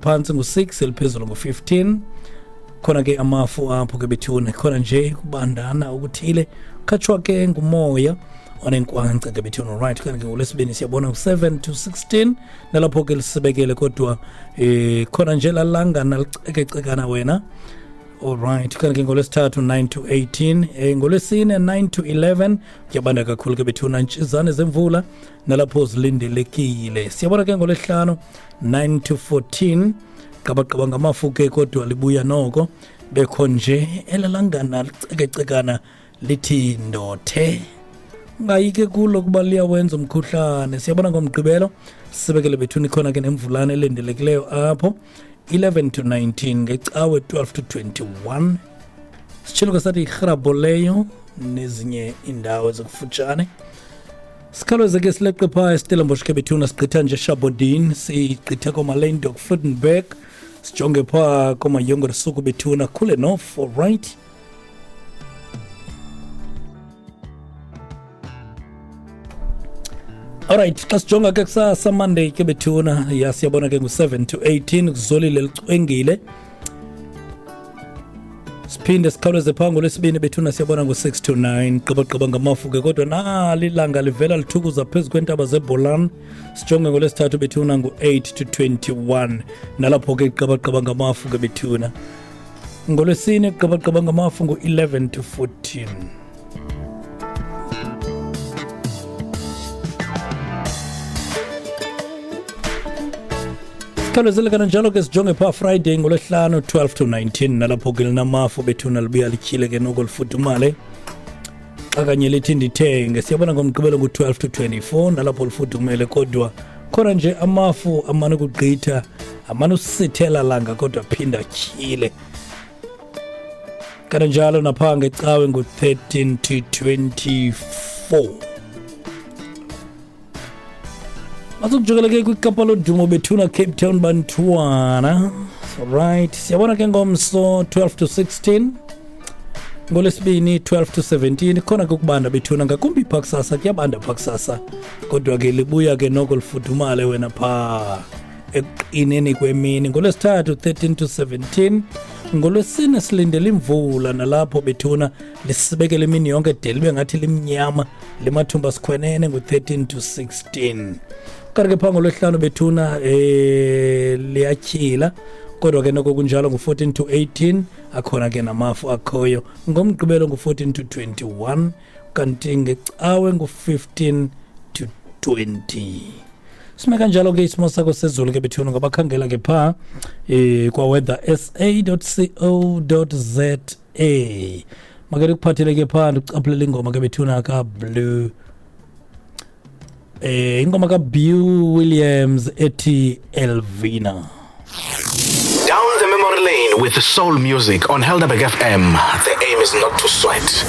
Phantsi ngu-6, eliphezulu ngu-15. Khona ke amafu apho ke bethuna, khona nje kubandana okuthile, khatshwa ke ngumoya onenkwankca ke bethuna. Right, kanti ke ngolwesibini siyabona ngu-7 to 16, nalapho ke lisibekele kodwa khona nje lalangana licekecekana wena. Alright, kanti ke ngolwesithathu 9 to 18, ngolwesine 9 to 11 kuyabanda kakhulu ke bethuna, ntshizane zemvula nalapho zilindelekile. Siyabona ke ngolwesihlanu 9 to 14, qabaqaba ngamafu ke kodwa libuya noko bekho nje elalangana licekecekana lithi ndothe, ungayike kulo kuba liyawenza umkhuhlane. Siyabona ngomgqibelo sibekele bethuni, khona ke nemvulana elindelekileyo apho 11 to 19, ngecawe 12 to 21. Sitshilo ke sathi irhrabho leyo nezinye iindawo ezikufutshane. Sikhawuleze ke sileqe phaa eStellenbosch ke bethuna, sigqitha nje Shabodien, sigqithe kooMalendok, Vredenburg, sijonge phaa kooMayongersuku bethuna, Koelenhof. Alright, alright, xa sijonga ke kusasa Monday ke bethuna, ya siyabona ke ngu-7 to 18, kuzolile, licwengile. Siphinde sikhawuleze phaa ngolwesibini bethuna, siyabona ngu-6 to 9, gqibagqiba ngamafu ke kodwa nali ilanga livela lithukuza phezu kweentaba zebholan. Sijonge ngolwesithathu bethuna, ngu-8 to 21, nalapho ke gqibagqiba ngamafu ke bethuna. Ngolwesine gqibagqiba ngamafu ngu-11 to 14. Sikhawulezele kananjalo ke sijonge phaa Friday ngolwesihlanu 12 to 19, nalapho ke linamafu bethuna, libuya lityhile ke noko lifudumale xa kanye lithi ndithenge. Siyabona ngomgqibelo ngu-12 to 24, nalapho lifudumele kodwa khona nje amafu amane ukugqitha, amane usithela langa kodwa phinda atyhile. Kananjalo naphaa ngecawe ngu-13 to 24. Masukujokela ke kwiKapa lodumo bethuna, Cape Town bantwana. Right, siyabona ke ngomso 12 to 16, ngolwesibini 12 to 17, khona ke ukubanda bethuna, ngakumbi phaa kusasa, kuyabanda phaa kusasa kodwa ke libuya ke noko lifudumale wena phaa ekuqineni kwemini. Ngolwesithathu 13 to 17, ngolwesine silindele imvula, nalapho bethuna lisibekele imini yonke de libe ngathi limnyama, limathumba sikhwenene, ngu-13 to 16. Kanti ke phaa ngolwesihlanu bethuna liyatyhila kodwa ke noko kunjalo, ngu-14 to 18, akhona ke namafu akhoyo. Ngomgqibelo ngu-14 to 21, kanti ngecawe ngu-15 to 20. Sime kanjalo ke isimo sakho sezulu ke bethuna, ngabakhangela ke phaa kwa-weather sa.co.za. Make ndikuphathele ke phaa, ndikucaphulele ingoma ke bethuna kaBlue, ingoma kaBeau Williams ethi Elvina. Down the memory lane with soul music on Helderberg FM. The aim is not to sweat.